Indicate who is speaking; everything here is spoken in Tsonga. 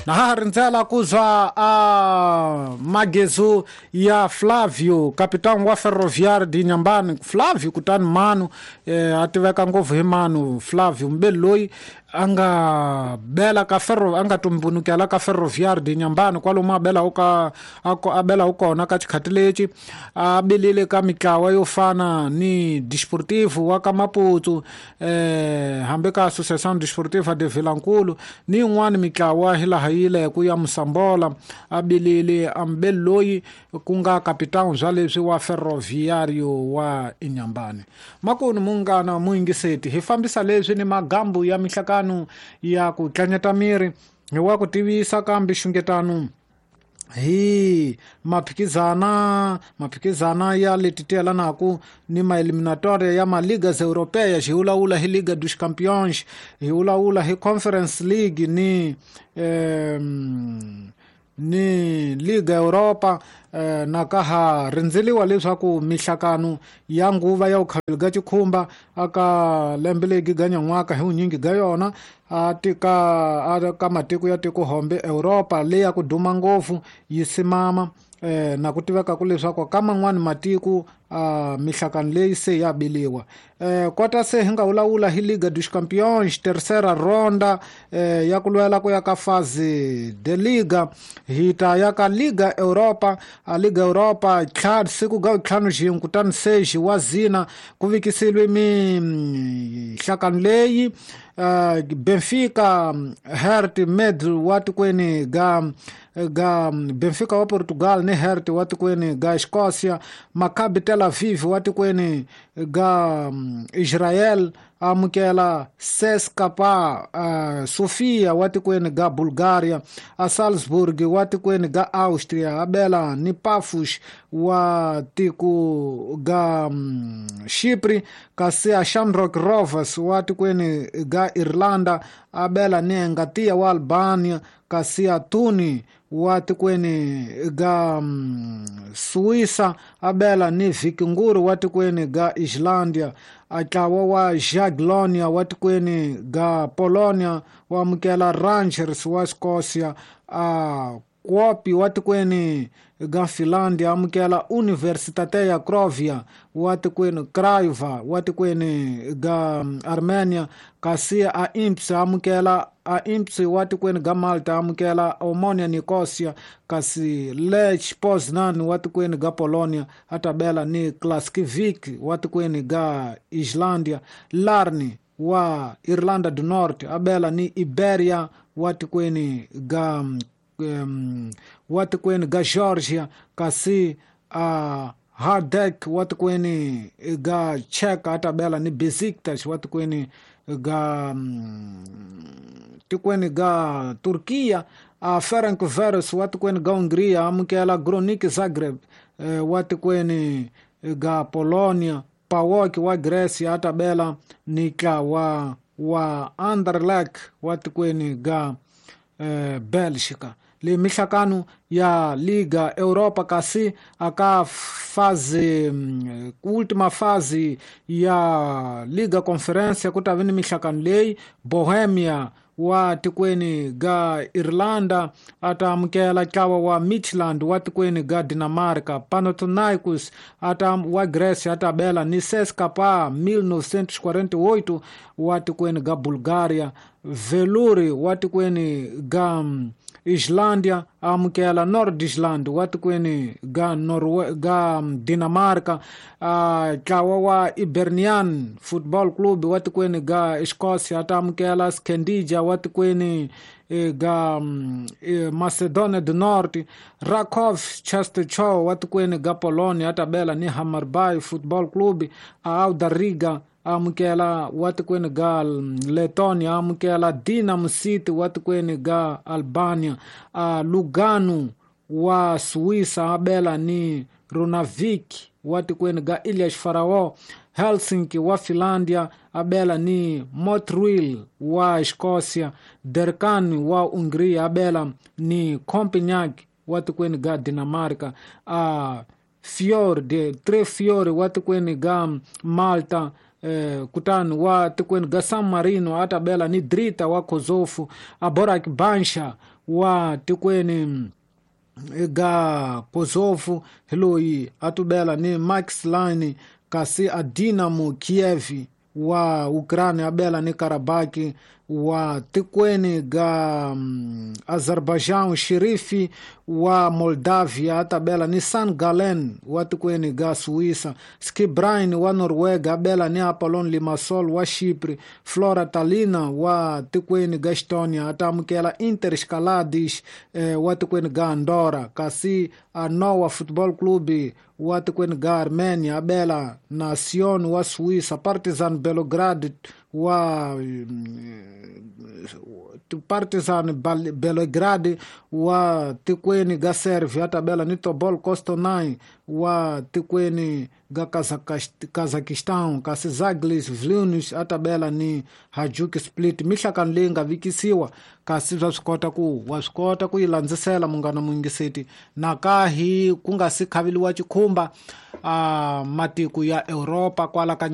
Speaker 1: Na ha rindzela ku zwa a magezu ya Flavio, capitão wa Ferroviário de Inhambane. Flavio kutani Manu, a tiveka ngopfu hi Manu Flavio, mbeli loyi a nga bela ka Ferro, a nga tumbunukela ka Ferroviário de Inhambane, kwalomu a bela ka a bela kona ka xikhati lexi, a bilile ka mitlawa yo fana ni Desportivo wa ka Maputo, hambi ka Associação Desportiva de Vilankulu ni yin'wana mitlawa hilaha yi le ku ya Mosambola. A bilile a mbeli loyi ku nga capitão bya leswi wa Ferroviário wa Inhambane. Makunu munghana muyingiseti, hi fambisa leswi ni magambu ya mihlakano ya ku tlanyeta miri hi wa ku tivisa kambe xungetano hi maphikizana ya leti tiyelanaku ni maeliminatoria ya maligas europeias. Hi vulavula hi Liga dos Campeões, hi vulavula hi Conference League ni ni Liga Europa. Na ka ha rindzeliwa leswaku mihlakano ya nguva ya vukhaveli ga xikhumba aka lembe leri ga nyan'waka hi vunyingi ga yona a tika ka matiko ya tiko hombe Europa leyi ya ku duma ngopfu yi simama, na ku tiveka ku leswaku ka man'wani matiko mihlakano leyi se ya biliwa. Kota se hi nga vulavula hi Liga dos Campeões terceira ronda, ya ku lwela ku ya ka fase de Liga. Hi ta ya ka Liga Europa, a Liga Europa siku ga ntlhanu xin'we kutani seji wa zina ku vikisiliwe mihlakano leyi. Benfica Hert Med wa tikweni ga Benfica wa Portugal ni Hert wa tikweni ga Escócia, Maccabi Tel Aviv wa tikweni ga Israel amukela CSKA Sofia wa tikweni ga Bulgaria, a Salzburg wa tikweni ga Austria abela ni Pafos wa tiko ga Chipre, kasi a Shamrock Rovers wa tikweni ga Irlanda abela ni Engatia wa Albania, kasi a Tuni wa tikweni ga Suíça abela ni Vikingur wa tikweni ga Islândia, a ntlawa wa Jagiellonia wa tikweni ga Polonia wa amukela Rangers wa Escócia, a Kuopi wa tikweni ga Finlândia amukela Universitatea Craiova wa tikweni Craiova wa tikweni ga Armenia, kasi a Imps amukela a Imps wa tikweni ga Malta amukela Omonia Nicosia, kasi Lech Poznan wa tikweni ga Polonia atabela ni Klaskivik wa tikweni ga Islândia, Larni wa Irlanda do Norte abela ni Iberia wa tikweni ga wa tikweni ga Georgia, kasi a Hardek wa tikweni ga Czech atabela ni Besiktas wa tikweni ga tikweni ga Turkia, a Ferencváros wa tikweni ga Hungria amukela Gronik Zagreb wa tikweni ga Polonia, PAOK wa Grecia atabela ni ntlawa wa Anderlecht wa tikweni ga Bélgica. Le mihlakano ya Liga Europa kasi aka fase última fase ya Liga Conferência ku ta vi ni mihlakano leyi Bohemia wa tikweni ga Irlanda ata amukela ntlawa wa Midtjylland wa tikweni ga Dinamarca, Panathinaikos ata wa Grecia ata bela ni CSKA 1948 wa tikweni ga Bulgaria, Veluri wa tikweni ga Islândia amukela Nordisland wa tikweni ga Norwe ga Dinamarca, ntlawa wa Hibernian Football Club wa tikweni ga Escócia ata amukela Skendija wa tikweni ga Macedonia do Norte, Rakov Częstochowa wa tikweni ga Polonia atabela ni Hammarby Football Club, a Auda Riga amukela wa tikweni ga Letonia amukela Dinamo City wa tikweni ga Albania, a Lugano wa Suíça abela ni Runavik wa tikweni ga Ilhas Faraó, Helsinki wa Finlândia abela ni Montreal wa Escócia, Derkan wa Hungria abela ni Copenhague wa tikweni ga Dinamarca, a Fiore Tre Fiore wa tikweni ga Malta, kutani wa tikweni ga San Marino atabela ni Drita wa Kosovo, a Borak Bansha wa tikweni ga Kosovo hi loyi a tubela ni Max Line, kasi a Dinamo Kiev wa Ukraine a bela ni Karabaki wa tikweni ga Azerbaijan. Sherifi wa Moldavia a ta bela ni San Gallen wa tikweni ga Suíça. Skibrine wa Noruega a bela ni Apollon Limassol wa Chipre. Flora Talina wa tikweni ga Estonia a ta amukela Inter Escalades wa tikweni ga Andorra, kasi a Noah Football Club wa tikweni ga Armenia a bela na Sion wa Suíça. Partizan Belgrade wa Partizan Belgrade wa tikweni ga Serbia a tabela ni Tobol Kostanay wa tikweni ga Kazakhstan, kasi Zaglis Vilnius a tabela ni Hajduk Split. Mihlakano leyi nga vikisiwa, kasi swa swi kota ku wa swi kota ku yi landzisela munghana muyingiseti nakahi ku nga si khaveliwa chikhumba matiko ya Europa kwala ka.